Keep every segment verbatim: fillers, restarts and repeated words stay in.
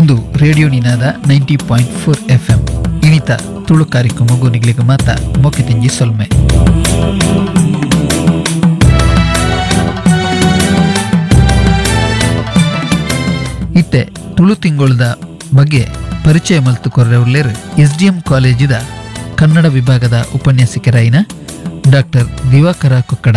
ಒಂದು radio Ninada ninety point four F M ಇಣಿತ Tulu ಕಾರ್ಯಕ್ರಮಗೂ ನಿಗ್ಲಿಗೆ ಮಾತ ಮೊಕ್ಕೆತಿಂಜಿ ಸೊಲ್ಮೆ. ಇತ್ತೆ ತುಳು ತಿಂಗೊಳದ ಬಗ್ಗೆ ಪರಿಚಯ ಮಲ್ತು ಕೊರ್ರೆವುಲ್ಲೇರು ಎಸ್ ಡಿ ಎಂ ಕಾಲೇಜಿದ ಕನ್ನಡ ವಿಭಾಗದ ಉಪನ್ಯಾಸಕರಾಯಿನ ಡಾಕ್ಟರ್ ದಿವಾಕರ ಕೊಕ್ಕಡ.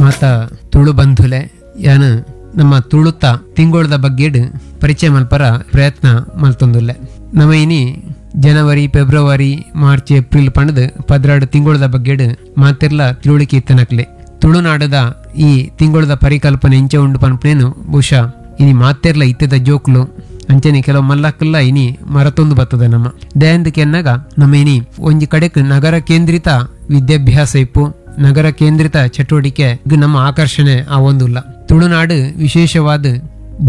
ಮಾತ ತುಳು ಬಂಧುಲೆ ಯಾನು ನಮ್ಮ ತುಳುತ ತಿಂಗೊಳದ ಬಗ್ಗೆಡ್ ಪರಿಚಯ ಮಲ್ಪರ ಪ್ರಯತ್ನ ಮಲ್ತೊಂದುಲ್ಲೆ. ನಮ್ಮ ಇನಿ ಜನವರಿ, ಫೆಬ್ರವರಿ, ಮಾರ್ಚ್, ಏಪ್ರಿಲ್ ಪಂಡದು ಪದ್ರಾಡು ತಿಂಗೊಳದ ಬಗ್ಗೆಡ್ ಮಾತೆರ್ಲ ತಿಳುವಳಿಕೆ ಇತ್ತನಕ್ಲೆ. ತುಳುನಾಡದ ಈ ತಿಂಗೊಳದ ಪರಿಕಲ್ಪನೆ ಇಂಚೆ ಉಂಡು ಪನ್ಪನೇನು ಬಹುಶಃ ಇನಿ ಮಾತೆರ್ಲ ಇತ್ತದ ಜೋಕ್ಲು ಅಂಚನೆ ಕೆಲವು ಮಲ್ಲಕ್ಕಲ್ಲ ಇನಿ ಮರತೊಂದು ಬರ್ತದೆ. ನಮ್ಮ ದಯಾಂದಕ್ಕೆ ಎನ್ನಾಗ ನಮ್ಮ ಇನಿ ಒಂಜಿ ಕಡೆಕ್ ನಗರ ಕೇಂದ್ರಿತ ವಿದ್ಯಾಭ್ಯಾಸ ಇಪ್ಪು, ನಗರ ಕೇಂದ್ರಿತ ಚಟುವಟಿಕೆ ನಮ್ಮ ಆಕರ್ಷಣೆ ಆ ಒಂದುಲ್ಲ. ತುಳುನಾಡು ವಿಶೇಷವಾದ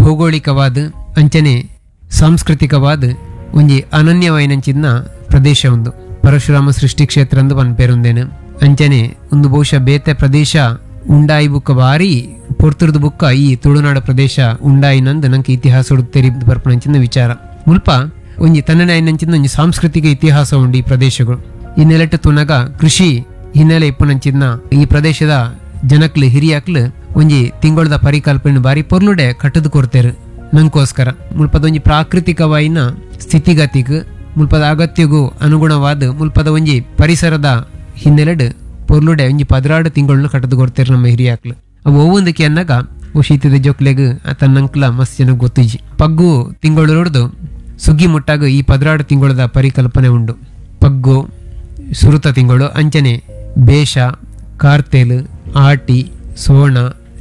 ಭೌಗೋಳಿಕವಾದ ಅಂಚನೆ ಸಾಂಸ್ಕೃತಿಕವಾದ ಒಂಜಿ ಅನನ್ಯವಾಯಿನಂಚಿನ ಪ್ರದೇಶ ಒಂದು. ಪರಶುರಾಮ ಸೃಷ್ಟಿ ಕ್ಷೇತ್ರ ಅಂದು ಪನ್ಪೇರುಂದೇನು. ಅಂಚನೆ ಒಂದು ಬಹುಶಃ ಬೇತೆ ಪ್ರದೇಶ ಉಂಡಾಯಿ ಬುಕ್ಕ ಬಾರಿ ಪೊರ್ತುರ್ದು ಬುಕ್ಕ ಈ ತುಳುನಾಡು ಪ್ರದೇಶ ಉಂಡಾಯಿನಂದು ನಂಗೆ ಇತಿಹಾಸ ತೆರಿ ಬರ್ಪಣಂಚಿನ ವಿಚಾರ. ಮುಲ್ಪ ಒಂಜಿ ತನ್ನನಾಯಿನಂಚಿನ ಒಂಜಿ ಸಾಂಸ್ಕೃತಿಕ ಇತಿಹಾಸ ಉಂಡು ಈ ಪ್ರದೇಶಗಳು. ಈ ನೆಲೆಟ್ಟು ತುನಗ ಕೃಷಿ ಹಿನ್ನೆಲೆ ಇಪ್ಪುನಂಚಿನ ಈ ಪ್ರದೇಶದ ಜನಕ್ಲು ಹಿರಿಯಕ್ಲು ಒಂಜಿ ತಿಂಗಳದ ಪರಿಕಲ್ಪನೆ ಬಾರಿ ಪೊರ್ಲುಡೆ ಕಟ್ಟದು ಕೊಡ್ತೇರು ನಂಗೋಸ್ಕರ. ಮುಲ್ಪದ ಒಂಜಿ ಪ್ರಾಕೃತಿಕವಾಯಿನ ಸ್ಥಿತಿಗತಿಗ್ ಮುಲ್ಪದ ಅಗತ್ಯಗೂ ಅನುಗುಣವಾದ ಮುಲ್ಪದ ಒಂಜಿ ಪರಿಸರದ ಹಿನ್ನೆಲೆಡ್ ಪೊರ್ಲುಡೆ ಒಂಜಿ ಪದ್ರಾಡು ತಿಂಗಳನ್ನ ಕಟ್ಟದು ಕೊಡ್ತೇರು ನಮ್ಮ ಹಿರಿಯಾಕ್ಲು. ಅವು ಒವ್ವೊಂದಕ್ಕೆ ಅನ್ನಾಗ ಶೀತದ ಜೋಕ್ಲೆಗ್ ತನ್ನಂಕ್ಲ ಮಸ್ತ್ ಜನ ಗೊತ್ತಿಜಿ. ಪಗ್ಗು ತಿಂಗಳು ನೋಡ್ದು ಸುಗ್ಗಿ ಮುಟ್ಟಾಗ ಈ ಪದ್ರಾಡು ತಿಂಗಳದ ಪರಿಕಲ್ಪನೆ ಉಂಡು. ಪಗ್ಗು ಸುರುತ ತಿಂಗಳು, ಅಂಚನೆ ಬೇಷ, ಕಾರ್ತೇಲ್, ಆಟಿ, ಸೋಣ,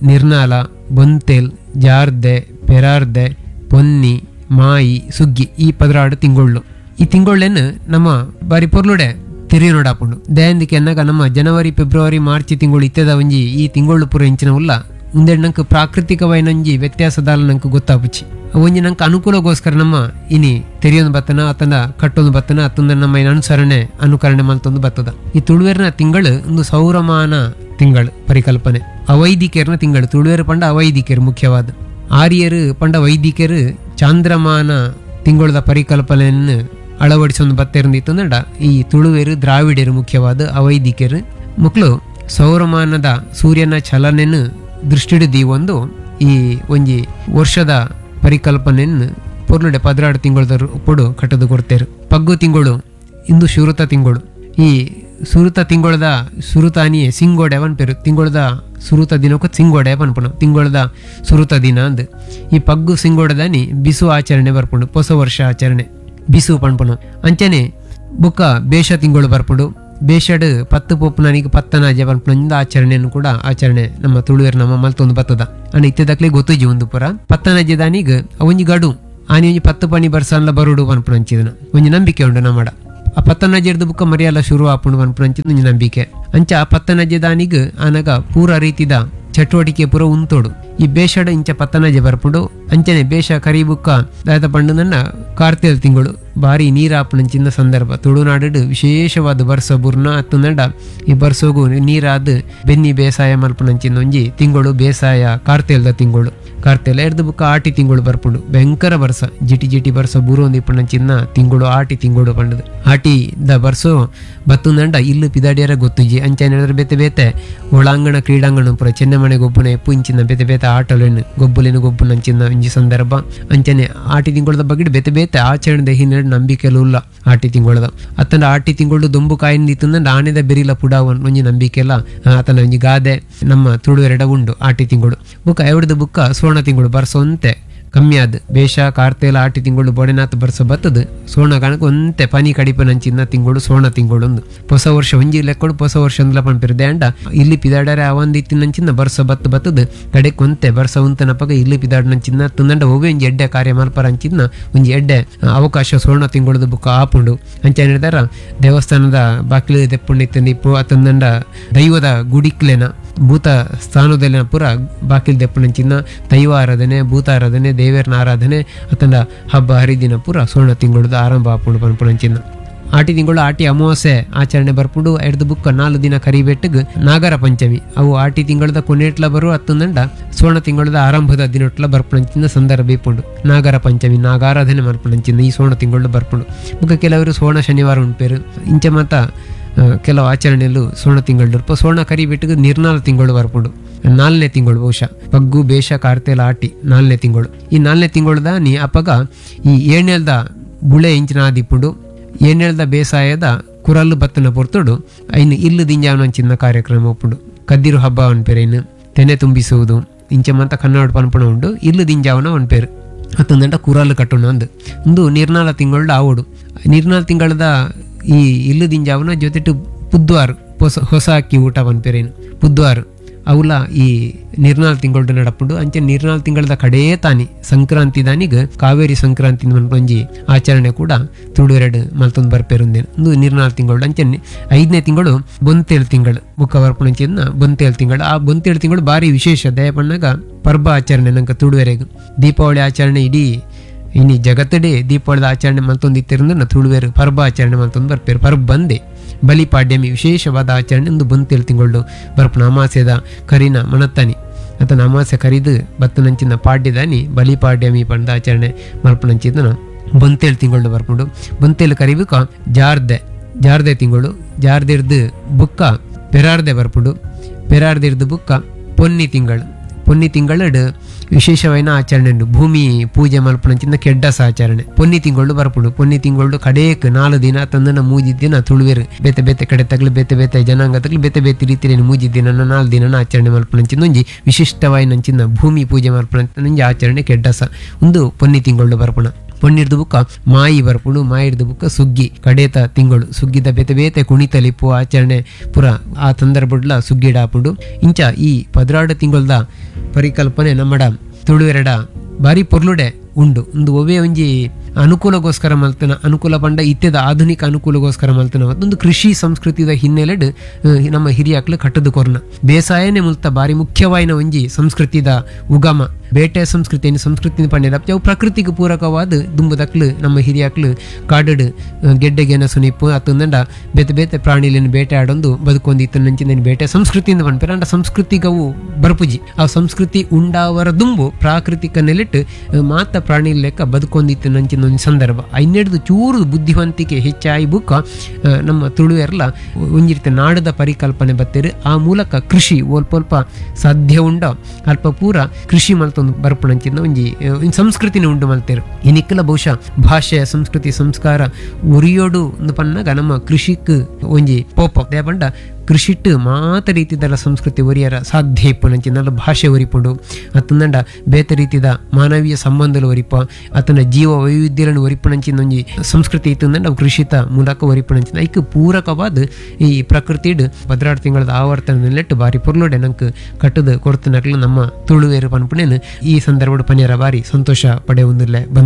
ನಿರ್ನಾಲ, ಬೊಂತೇಲ್, ಜಾರ್ದೆ, ಪೆರಾರ್ದೆ, ಪೊನ್ನಿ, ಮಾಯಿ, ಸುಗ್ಗಿ ಈ ಪದ್ರಾಡು ತಿಂಗಳು. ಈ ತಿಂಗಳೇನು ನಮ್ಮ ಬಾರಿ ಪೊರ್ಲುಡೆ ತೆರಿಯ ನೋಡಾಪುಂಡು. ದಯಾಂದಿಕೆ ಅನ್ನಾಗ ನಮ್ಮ ಜನವರಿ, ಫೆಬ್ರವರಿ, ಮಾರ್ಚ್ ತಿಂಗಳು ಇತ್ತದ ಒಂಜಿ ಈ ತಿಂಗಳು ಪೂರ ಇಂಚಿನ ಉಲ್ಲ ಒಂದೆರಡು ನಂಗೆ ಪ್ರಾಕೃತಿಕವಾಯಿನಂಜಿ ವ್ಯತ್ಯಾಸದಾಲ ನಂಗೆ ಗೊತ್ತಾಪುಚಿ. ಒಂಜಿ ನಂಗೆ ಅನುಕೂಲಗೋಸ್ಕರ ನಮ್ಮ ಇನಿ ತೆರಿಯೊಂದು ಬತ್ತನ ಅತನ ಕಟ್ಟೊಂದು ಬತ್ತನ ಅತ್ತಂದ ನಮ್ಮ ಅನುಸರಣೆ ಅನುಕರಣೆ ಮಲ್ತೊಂದು ಬತ್ತದ. ಈ ತುಳುವೇರ್ನ ತಿಂಗಳು ಒಂದು ಸೌರಮಾನ ತಿಂಗಳು ಪರಿಕಲ್ಪನೆ. ಅವೈದಿಕರ್ನ ತಿಂಗಳು ತುಳುವೇರು ಪಂಡ ಅವೈದಿಕರು ಮುಖ್ಯವಾದ. ಆರ್ಯರು ಪಂಡ ವೈದಿಕರು ಚಾಂದ್ರಮಾನ ತಿಂಗಳದ ಪರಿಕಲ್ಪನೆಯನ್ನು ಅಳವಡಿಸೊಂದು ಬತ್ತೆರಂದಿತ್ತಂದ ಈ ತುಳುವೇರು ದ್ರಾವಿಡರು ಮುಖ್ಯವಾದ ಅವೈದಿಕರು ಮಕ್ಕಳು ಸೌರಮಾನದ ಸೂರ್ಯನ ಚಲನೆಯನ್ನು ದೃಷ್ಟಿಡಿದು ಒಂದು ಈ ಒಂಜಿ ವರ್ಷದ ಪರಿಕಲ್ಪನೆಯನ್ನು ಪೊರ್ಲುಡೆ ಪದ್ರಾಡು ತಿಂಗಳದ ಪೊಡು ಕಟ್ಟದು ಕೊಡ್ತೇರು. ಪಗ್ಗು ತಿಂಗಳು ಇಂದು ಶುರುತ ತಿಂಗಳು. ಈ ಸುರುತ ತಿಂಗಳದ ಸುರುತಾನಿಯೇ ಸಿಂಗೋಡೆ ಪನ್ಪೇರು. ತಿಂಗಳದ ಸುರುತ ದಿನಕ್ಕೂ ಸಿಂಗೋಡೆ ಪನ್ಪುಣ ತಿಂಗಳದ ಸುರುತ ದಿನ ಅಂದ್. ಈ ಪಗ್ಗು ಸಿಂಗೋಡದಾನಿ ಬಿಸು ಆಚರಣೆ ಬರ್ಪುಂಡು, ಹೊಸ ವರ್ಷ ಆಚರಣೆ ಬಿಸು ಪನ್ಪುಣ. ಅಂಚನೆ ಬುಕ್ಕ ಬೇಷ ತಿಂಗಳು ಬರ್ಪುಂಡು. ಬೇಷಡ್ ಪತ್ತು ಪೊಪ್ಪುನಾನಿಗೆ ಪತ್ತನಾಜೆ ಪನ್ಪುನ ಆಚರಣೆಯನ್ನು ಕೂಡ ಆಚರಣೆ ನಮ್ಮ ತುಳುವೇರು ನಮ್ಮ ಮಲ್ತೊಂದು ಬತ್ತದ. ಅಂಡ್ ಇತ್ತದಕ್ಲೆ ಗೊತ್ತುಜಿ ಒಂದು ಪುರ ಪತ್ತನಾಜೆ ದಾನಿಗ್ ಒಂಜಿ ಗಡು ಆನಿ ಒಂಜಿ ಪತ್ತು ಪಣಿ ಬರ್ಸನ್ಲ ಬರುಡು ಪನ್ಪುನ ಅಂಚಿದನ ಒಂಜಿ ನಂಬಿಕೆ ಉಂಡು ನಮ್ಮಡ. ಆ ಪತ್ತನಜೆರ್ದು ಬುಕ್ಕ ಮರಿಯಲ್ಲ ಶುರು ಆಪುಂಡು ಪನ್ಪುನ ಒಂಜಿ ನಂಬಿಕೆ. ಅಂಚ ಆ ಪತ್ತನಜೆ ದಾನಿಗ್ ಆನಗ ಪೂರ ರೀತಿದ ಚಟುವಟಿಕೆ ಪೂರ ಉಂತೋಡು. ಈ ಬೇಷಡ ಇಂಚ ಪತ್ತನಜೆ ಬರ್ಪುಂಡು. ಅಂಚನೆ ಬೇಷ ಕರಿ ಬುಕ್ಕ ದಾದ ಪಂಡು ನನ್ನ ಕಾರ್ತಿಲ್ ತಿಂಗಳು ಬಾರಿ ನೀರಾಪುಣಂಚಿನ ಸಂದರ್ಭ. ತುಳುನಾಡು ವಿಶೇಷವಾದ ಬರ್ಸ ಬುರ್ನ ಅತ್ತಂದಂಡ ಈ ಬರ್ಸೋಗು ನೀರಾದ ಬೆನ್ನಿ ಬೇಸಾಯ ಮಲ್ಪುಣಂಚಿನ ಒಂಜಿ ತಿಂಗಳು ಬೇಸಾಯ ಕಾರ್ತಿಲ್ದ ತಿಂಗಳು. ಕಾರ್ತಿಲ್ ಎರ್ದು ಬುಕ್ಕ ಆಟಿ ತಿಂಗಳು ಬರ್ಪುಂಡು. ಭಯಂಕರ ಬರ್ಸ ಜಿಟಿ ಜಿಟಿ ಬರ್ಸ ಬೂರೊಂದು ಇಪ್ಪುಣಂಚಿನ ತಿಂಗಳು ಆಟಿ ತಿಂಗಳು ಪಂಡದು. ಆಟಿ the ಬರ್ಸೋ ಬತ್ತುಂದಂಡ ಇಲ್ಲು ಪಿದಾಡಿಯರ ಗೊತ್ತುಜಿ. ಅಂಚನೆ ಹೇಳಿದ್ರೆ ಬೇತೆ ಬೇತೆ ಒಳಾಂಗಣ ಕ್ರೀಡಾಂಗಣ ಪುರ ಚೆನ್ನಮನೆ ಗೊಬ್ಬುನ ಎಪ್ಪು ಇಂಚಿನ ಬೇತೆ ಬೇತೆ ಆಟಲೇನು ಗೊಬ್ಬುಲೇನು ಗೊಬ್ಬುನಂಚಿನ ಒಂಜಿ ಸಂದರ್ಭ. ಅಂಚನೆ ಆಟಿ ತಿಂಗಳದ ಬಗ್ಗೆ ಬೇತೆ ಬೇತೆ ಆಚರಣೆ ಹಿನ್ನೆಲೆ ನಂಬಿಕೆಲು ಉಲ್ಲ ಆಟಿ ತಿಂಗಳದ. ಅತ್ತಂಡ ಆಟಿ ತಿಂಗಳು ದೊಂಬು ಕಾಯಿಂದ ಇತ್ತಂದ ಆನೆದ ಬೆರಿಲ ಪುಡಾವನ್ ಒಂಜಿ ನಂಬಿಕೆ ಎಲ್ಲ ಆತನ ಒಂಜಿ ಗಾದೆ ನಮ್ಮ ತುಳುವೆರಡ ಉಂಡು ಆಟಿ ತಿಂಗಳು. ಬುಕ್ಕ ಎವಡ್ದು ಬುಕ್ಕ ಸುವರ್ಣ ತಿಂಗಳು ಬರ್ಸೊಂತೆ ಕಮ್ಮಿ ಆದ್ ಬೇಷ ಕಾರ್ತೇಲ ಆಟಿ ತಿಂಗಳು ಬೊಡೆನಾಥ್ ಬರ್ಸ ಬತ್ತದು ಸೋಣ ಕಾಣಕ್ಕೆ ಒಂತೆ ಪನಿ ಕಡಿಪನಂಚಿನ ತಿಂಗಳು ಸೋಣ ತಿಂಗಳು ಒಂದು ಹೊಸ ವರ್ಷ ಒಂಜಿ ಲೆಕ್ಕೊಡು ಹೊಸ ವರ್ಷ ಅಂದ್ಲ ಪನ್ಪಿರು ದ್ಯಾಂಡ ಇಲ್ಲಿ ಪಿದಾಡರೆ ಅವಂದಿತ್ತಿನಂಚಿನ ಬರ್ಸ ಬತ್ತು ಬತ್ತದು ಕಡೆಕ್ ಒಂತೆ ಬರ್ಸ ಉಂತನಪಗ ಇಲ್ಲಿ ಪಿದಾಡನಂಚಿನ ತುಂದಂಡ ಒವ್ವೆ ಒಂಜಿ ಎಡ್ಡೆ ಕಾರ್ಯ ಮಲ್ಪರ ಅಂಚಿನ ಒಂಜಿ ಎಡ್ಡೆ ಅವಕಾಶ ಸೋಣ ತಿಂಗಳದ ಬುಕ್ಕ ಆಪುಂಡು. ಅಂಚ ಹೇಳಿದಾರ ದೇವಸ್ಥಾನದ ಬಾಕಿಲು ದೆಪ್ಪುಂಡಿತ್ತಂದು ಇಪ್ಪು ತಂದಂಡ ದೈವದ ಗುಡಿಕ್ಲೆನ ಭೂತ ಸ್ಥಾನದಲ್ಲಿನ ಪೂರ ಬಾಕಿಲ್ ದೆಪ್ಪುನಂಚಿನ ದೈವ ಆರಾಧನೆ ಭೂತ ಆರಾಧನೆ ದೇವರನ ಆರಾಧನೆ ಅತಂಡ ಹಬ್ಬ ಹರಿದಿನ ಪೂರ ಸುವರ್ಣ ತಿಂಗಳದ ಆರಂಭ ಆಪುಂಡು ಪನ್ಪುನಂಚಿನ. ಆಟಿ ತಿಂಗಳು ಆಟಿ ಅಮಾವಾಸ್ಯೆ ಆಚರಣೆ ಬರ್ಪುಂಡು. ಎಡ್ದು ಬುಕ್ಕ ನಾಲ್ಕು ದಿನ ಕರಿಬೆಟ್ಟಿಗೆ ನಾಗರ ಪಂಚಮಿ ಅವು ಆಟಿ ತಿಂಗಳದ ಕೊನೆಟ್ಲ ಬರು ಹತ್ತೊಂದಂಡ ಸುವರ್ಣ ತಿಂಗಳದ ಆರಂಭದ ದಿನಟ್ಲ ಬರ್ಪುಣಂಚಿನ ಸಂದರ್ಭ ಇಪ್ಪುಂಡು. ನಾಗರ ಪಂಚಮಿ ನಾಗಾರಾಧನೆ ಮಲ್ಪುಣಂಚಿನ ಈ ಸುವರ್ಣ ತಿಂಗಳು ಬರ್ಪುಂಡು. ಬುಕ್ಕ ಕೆಲವರು ಸುವರ್ಣ ಶನಿವಾರ ಉಂಪೇರು. ಇಂಚ ಮಾತ ಕೆಲವು ಆಚರಣೆಯಲ್ಲೂ ಸುವರ್ಣ ತಿಂಗಳು ಇರ್ಪ. ಸುವರ್ಣ ಕರಿಬಿಟ್ಟಿಗೆ ನಿರ್ನಾಲ ತಿಂಗಳು ಬರ್ಪುಂಡು. ನಾಲ್ನೇ ತಿಂಗಳು ಬಹುಶಃ ಪಗ್ಗು ಬೇಷ ಕಾರ್ತೆಲ ಆಟಿ ನಾಲ್ನೇ ತಿಂಗಳು. ಈ ನಾಲ್ನೇ ತಿಂಗಳದ ನೀ ಅಪಗ ಈ ಏಳ್ನೇಲ್ದ ಬುಳೆ ಇಂಚಿನ ಆದಿಪ್ಪುಂಡು. ಏಳ್ನೇಲ್ದ ಬೇಸಾಯದ ಕುರಲ್ಲು ಬತ್ತನ ಪೊರ್ತುಡು ಐನು ಇಲ್ಲು ದಿಂಜಾವನಂಚಿನ ಕಾರ್ಯಕ್ರಮ ಒಪ್ಪುಂಡು. ಕದ್ದಿರು ಹಬ್ಬ ಅನ್ಪೇರು, ಇನ್ನು ತೆನೆ ತುಂಬಿಸುವುದು ಇಂಚ ಮಂತ ಕನ್ನಡ ಪನ್ಪಣ ಉಂಡು. ಇಲ್ಲು ದಿಂಜಾವನ ಅನ್ಪೇರು ಅತ್ತಂದಂಟ ಕುರಲ್ಲು ಕಟ್ಟುಣ ಅಂದು ಒಂದು ನಿರ್ನಾಲ ತಿಂಗಳು ಆವೋಡು. ನಿರ್ನಾಲ ತಿಂಗಳದ ಈ ಇಲ್ಲು ದಿಂಜಾವನ ಜೊತೆಟು ಪುದ್ವಾರು ಹೊಸ ಹೊಸ ಅಕ್ಕಿ ಊಟ ಪನ್ಪೇರೇನು ಪುದ್ವಾರು ಅವುಲ ಈ ನಿರ್ನಾಲ್ ತಿಂಗಳು ನಡಪುಂಡು. ಅಂಚೆ ನಿರ್ನಾಲ್ ತಿಂಗಳದ ಕಡೇ ತಾನಿ ಸಂಕ್ರಾಂತಿ ದಾನಿಗ್ ಕಾವೇರಿ ಸಂಕ್ರಾಂತಿ ಒಂಜಿ ಆಚರಣೆ ಕೂಡ ತುಳುವೆರಡು ಮಲ್ತೊಂದು ಬರ್ಪೇರುಂದೇನು ಒಂದು ನಿರ್ನಾಲ್ ತಿಂಗಳು. ಅಂಚೆ ಐದನೇ ತಿಂಗಳು ಬೊಂತೇಳು ತಿಂಗಳು ಬುಕ್ಕ ಬರ್ಪುಣಂಚಿನ ಬೊಂತೇಳು ತಿಂಗಳು. ಆ ಬೊಂತೇಳು ತಿಂಗಳು ಭಾರಿ ವಿಶೇಷ ದಯಪಣ್ಣಾಗ ಪರ್ಬ ಆಚರಣೆ ನಂಗೆ ತುಳುವೆರೆಗ್ ದೀಪಾವಳಿ ಆಚರಣೆ ಇಡೀ ಇನಿ ಜಗತ್ತಡೆ ದೀಪಾವಳಿದ ಆಚರಣೆ ಮಲ್ತೊಂದು ಇತ್ತಿರಂದ್ರೆ ತುಳುವೆರು ಪರ್ಬ ಆಚರಣೆ ಮಲ್ತೊಂದು ಬರ್ಪೇರು. ಪರ್ಬ ಬಂದೆ ಬಲಿಪಾಡ್ಯಮಿ ವಿಶೇಷವಾದ ಆಚರಣೆ ಒಂದು ಬೊಂತೇಳು ತಿಂಗಳು ಬರ್ಪುಣ. ಅಮಾಸ್ಯದ ಕರಿನ ಮಣತ್ತಾನಿ ಅಥವಾ ಅಮಾಸ್ಯ ಕರಿದು ಬತ್ತನಂಚಿನ ಪಾಡ್ಯದಾನಿ ಬಲಿಪಾಡ್ಯಮಿ ಪಂಡ ಆಚರಣೆ ಮಲ್ಪನಂಚಿನ ಬೊಂತೇಳು ತಿಂಗಳು ಬರ್ಪುಂಡು. ಬೊಂತೇಳು ಕರಿಬೇಕ ಜಾರ್ದೆ ಜಾರ್ದೆ ತಿಂಗಳು ಜಾರ್ದಿರ್ದು ಬುಕ್ಕ ಪೆರಾರ್ದೆ ಬರ್ಪುಂಡು. ಪೆರಾರ್ದಿರ್ದು ಬುಕ್ಕ ಪೊನ್ನಿ ತಿಂಗಳು. ಪೊನ್ನಿ ತಿಂಗಳಡು ವಿಶೇಷವಾದ ಆಚರಣೆ ಉಂಡು. ಭೂಮಿ ಪೂಜೆ ಮಲ್ಪನಂಚಿನ ಕೆಡ್ಡಸ ಆಚರಣೆ ಪೊನ್ನಿ ತಿಂಗಳು ಬರ್ಪುಂಡು. ಪೊನ್ನಿ ತಿಂಗಳು ಕಡೇಕ್ ನಾಲ್ಕು ದಿನ ತಂದನ ಮೂಜಿ ದಿನ ತುಳುವೆರು ಬೇತೆ ಬೇತೆ ಕಡೆ ತಗ್ಲು ಬೇತೆ ಬೇತೆ ಜನಾಂಗ ತಗ್ಲು ಬೇತೆ ಬೇತೆ ರೀತಿಯಲ್ಲಿ ಮೂಜಿ ದಿನ ನಾಲ್ಕು ದಿನ ಆಚರಣೆ ಮಲ್ಪನಂಚಿನ ಒಂಜಿ ವಿಶಿಷ್ಟವಾಯಿನಂಚಿನ ಭೂಮಿ ಪೂಜೆ ಮಲ್ಪನಂಚಿನ ಆಚರಣೆ ಕೆಡ್ಡಸ ಒಂದು ಪೊನ್ನಿ ತಿಂಗಳು ಬರ್ಪುಣ. ಪೊನ್ನಿರ್ದು ಬುಕ್ಕ ಮಾಯಿ ಬರ್ಪುಂಡು. ಮಾಯಿರ್ದು ಬುಕ್ಕ ಸುಗ್ಗಿ ಕಡೇತ ತಿಂಗಳು ಸುಗ್ಗಿದ ಬೇತೆ ಬೇತೆ ಕುಣಿತಲಿಪ್ಪು ಆಚರಣೆ ಪುರ ಆ ಸಂದರ್ಭಡ್ಲ ಸುಗ್ಗಿಡಾಪುಂಡು. ಇಂಚ ಈ ಪದ್ರಾಡು ತಿಂಗಳದ ಪರಿಕಲ್ಪನೆ ನಮ್ಮಡ ತುಳುವೆರಡ ಬಾರಿ ಪೊರ್ಲುಡೆ ಉಂಡು. ಒಂದು ಒವೇ ಒಂಜಿ ಅನುಕೂಲಗೋಸ್ಕರ ಮಲ್ತನ ಅನುಕೂಲ ಪಂಡ ಇತ್ಯದ ಆಧುನಿಕ ಅನುಕೂಲಗೋಸ್ಕರ ಮಲ್ತನ ಒಂದು ಕೃಷಿ ಸಂಸ್ಕೃತಿದ ಹಿನ್ನೆಲೆಡ್ ನಮ್ಮ ಹಿರಿಯಾಕ್ಲು ಕಟ್ಟದು ಕೊರ್ನ ಬೇಸಾಯನೇ ಮುಲ್ತ ಬಾರಿ ಮುಖ್ಯವಾಯಿನ ಒಂಜಿ ಸಂಸ್ಕೃತಿದ ಉಗಮ. ಬೇಟೆ ಸಂಸ್ಕೃತಿಯನ್ನು ಸಂಸ್ಕೃತಿ ಪಂಡಿನ ಅವು ಪ್ರಕೃತಿಗೆ ಪೂರಕವಾದ ದುಂಬುದಕ್ಲು ನಮ್ಮ ಹಿರಿಯಾಕ್ಲು ಕಾಡಡು ಗೆಡ್ಡೆಗೆನ ಸುನಿಪ್ಪು ಅತ್ತಂದಂಡ ಬೇತೆ ಬೇತೆ ಪ್ರಾಣಿಲಿನ ಬೇಟೆ ಆಡೊಂದು ಬದುಕೊಂದು ಇತ್ತನಂಚಿನ ಬೇಟೆ ಸಂಸ್ಕೃತಿಯಿಂದ ಪನ್ಪೇರ. ಅಂಡ ಸಂಸ್ಕೃತಿಗವು ಬರ್ಪುಜಿ ಆ ಸಂಸ್ಕೃತಿ ಉಂಡಾವರ ದುಂಬು ಪ್ರಾಕೃತಿಕ ನೆಲೆಟ್ಟು ಮಾತ ಪ್ರಾಣಿ ಲೆಕ್ಕ ಬದುಕೊಂದಿತ್ತು ನಂಚಿನ ಒಂದು ಸಂದರ್ಭ. ಐನೆಡ್ದು ಚೂರು ಬುದ್ಧಿವಂತಿಕೆ ಹೆಚ್ಚಾಯಿ ಬುಕ್ಕ ನಮ್ಮ ತುಳುವೆರ್ಲ ಒಂಜಿರ್ತೆ ನಾಡದ ಪರಿಕಲ್ಪನೆ ಬತ್ತೇರು. ಆ ಮೂಲಕ ಕೃಷಿ ಒಲ್ಪ ಸಾಧ್ಯ ಉಂಡ ಅಲ್ಪ ಪೂರ ಕೃಷಿ ಮಲ್ತೊಂದು ಬರ್ಪುಣಂಚಿನ ಒಂಜಿ ಸಂಸ್ಕೃತಿನ ಉಂಡು ಮಲ್ತೇರು. ಇನಿಕ್ಕಲ ಬಹುಶಃ ಭಾಷೆ ಸಂಸ್ಕೃತಿ ಸಂಸ್ಕಾರ ಉರಿಯೋಡು ಒಂದು ಪನ್ನಾಗ ನಮ್ಮ ಕೃಷಿಕ್ ಒಂಜಿ ಪೋಪ ದೇಪಂಡ ಕೃಷಿಟ್ಟು ಮಾತ ರೀತಿದಲ್ಲ ಸಂಸ್ಕೃತಿ ಒರಿಯರ ಸಾಧ್ಯ ಇಪ್ಪುನಂಚಿನ ಭಾಷೆ ಒರಿಪುಂಡು ಅತ್ತಂದಂಡ ಬೇತೆ ರೀತಿದ ಮಾನವೀಯ ಸಂಬಂಧలు ಒರಿಪ ಅತನ ಜೀವ ವೈವಿಧ್ಯలను ಒರಿಪುನಂಚಿನ ಒಂಜಿ ಸಂಸ್ಕೃತಿ ಇತ್ತಂದಂಡ ಅವು ಕೃಷಿತ ಮೂಲಕ ಒರಿಪುನಂಚಿನ ಐಕ್ ಪೂರಕವಾದ ಈ ಪ್ರಕೃತಿಡ್ ಪದ್ರಾಡು ತಿಂಗಳದ ಆವರ್ತನ ನೆಲೆಟ್ಟು ಬಾರಿ ಪೊರ್ಲುಡೆ ನಂಗೆ ಕಟ್ಟದ ಕೊಡ್ತನಕ್ಲು ನಮ್ಮ ತುಳುವೇರು ಪನ್ಪುಣೇನು ಈ ಸಂದರ್ಭಡ್ ಪನಿಯರ ಬಾರಿ ಸಂತೋಷ ಪಡೆಯುವುದಿಲ್ಲ ಬಂದು.